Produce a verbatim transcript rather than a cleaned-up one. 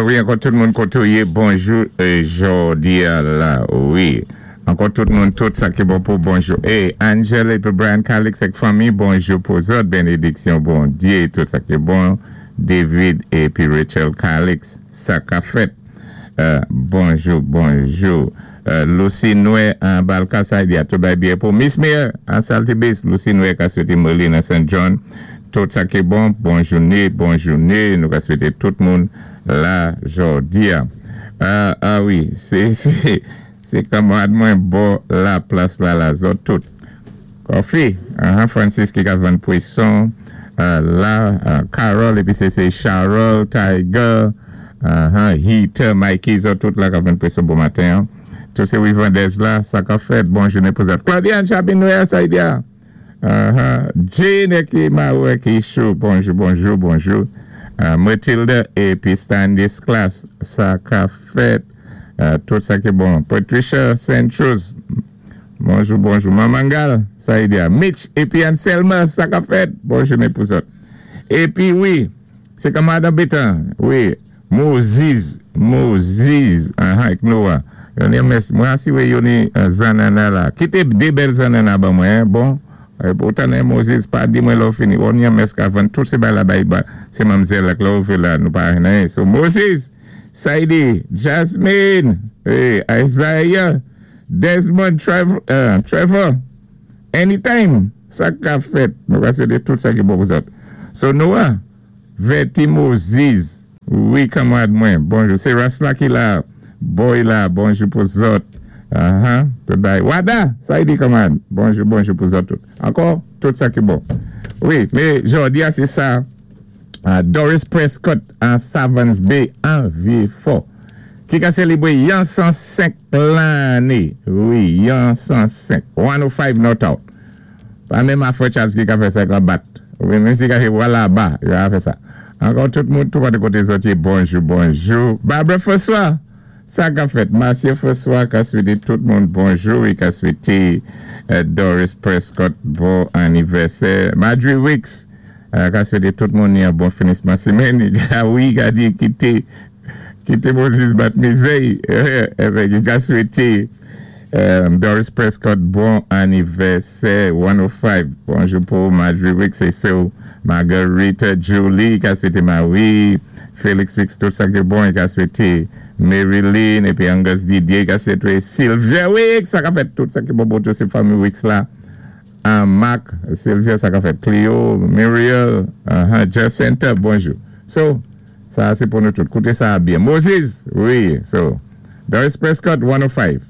Wi, ankò tout moun koté ou yé, bonjou jòdi-a la, wi. Ankò tout moun, tout sa ki bon pou bonjou. E, Angel épi Brian Calix ak fanmi, bonjou pou zòt, bénédiksyon Bondyé, tout sa ki bon. David épi Rachel Calix, sa ka fèt. Euh, bonjou, bonjou. Euh, Lucy Noé an Balka sa di a tout bay byen pou Miss Mayor an Saltibus, Lucy Noé ka swété Merlin an Saint John. Tout sa ki bon, bon jouné, bon jouné. Nou ka swété tout moun la jòdi-a. Ah, ah wi, sé, sé, sé kanmarad mwen bò la plas la la zòt tout. Kofi, uh, Francis ki ka vann pwéson, uh, la, uh, Carol, épi sé sé Charles, Tiger, uh, Heater, Mikey, zòt tout la ka vann pwéson bon maten. Tout sé Wivandez la, sa ka fèt, bon jouné pou zòt. Claudia Chabin Noé, sa y dia. Uh-huh. Jane ki Mawe ki chou, bonjou, bonjou, bonjou. Uh, Matilda épi Standis Class, sa ka fèt, uh, tout sa ki bon. Patricia Saint-Chose, bonjou, bonjou. Mamangal, sa y dia. Mitch épi Anselma, sa ka fèt, bon jouné pou zòt. Épi wi, sé kanmarad Betan, wi, Moses, Moses, uh-huh, ak Noah. Yo ni mès, mwen asiwé yo ni uh, zanana la. Kité dé bèl zanana ban mwen, bon. Poutan Moses pa di mwen lò fini. On yon mès ka vann tout sé bay la bay ba. Sé manmzèl ak lò fè la nou pa nan. So Moses, Saidi, Jasmine, hey, Isaiah, Desmond, Trevor, uh, Trevor, anytime, sa ka fèt. Nou ka swété tout sa ki bon pou zòt. So Noah, Verti Moses, wi kanmarad mwen, bonjou. Sé Rasla ki la, boy la, bonjou pou zòt. Uh-huh, tout bay. Wada, sa y di kanmarad, bonjou, bonjou pou zòt tout. Ankò, tout sa ki bon. Wi, mé jòdi-a sé sa, uh, Doris Prescott an Savans Bay, an Vieux-Fort, ki ka sélébwé yon san senk lanné. Wi, yon san senk. one oh five not out. Pa menm Afro Charles ki ka fè sa ka bat. Wi, menm si ka fè wala ba, yo a fè sa. Ankò tout moun, tout koté zòt yé, bonjou, bonjou. Barbara François, sa ka fèt. Marcia François ka swété tout moun bonjou, i ka swété uh, Doris Prescott bon anivèsè. Marjorie Wicks, uh, ka swété tout moun yon bon finisman sémèn. Wi, ka di kité kité Moses bat mizè'y. Évè, ka swété um, Doris Prescott bon anivèsè one oh five. Bonjou pou Marjorie Wicks é so Margarita Julie ka swété Marie Félix Wicks tout sa ki bon, ka swété Marilyn épi Angus Didier ka swété Sylvia Wicks, sa ka fèt, tout sa ki bon pou tout sé fanmi Wicks la. Uh, Mark, Sylvia, sa ka fèt, Cleo, Muriel, uh -huh, Jacinta, bonjou. So, sa sé pou nou tout. Kouté sa byen. Moses, wi, so Doris Prescott one oh five.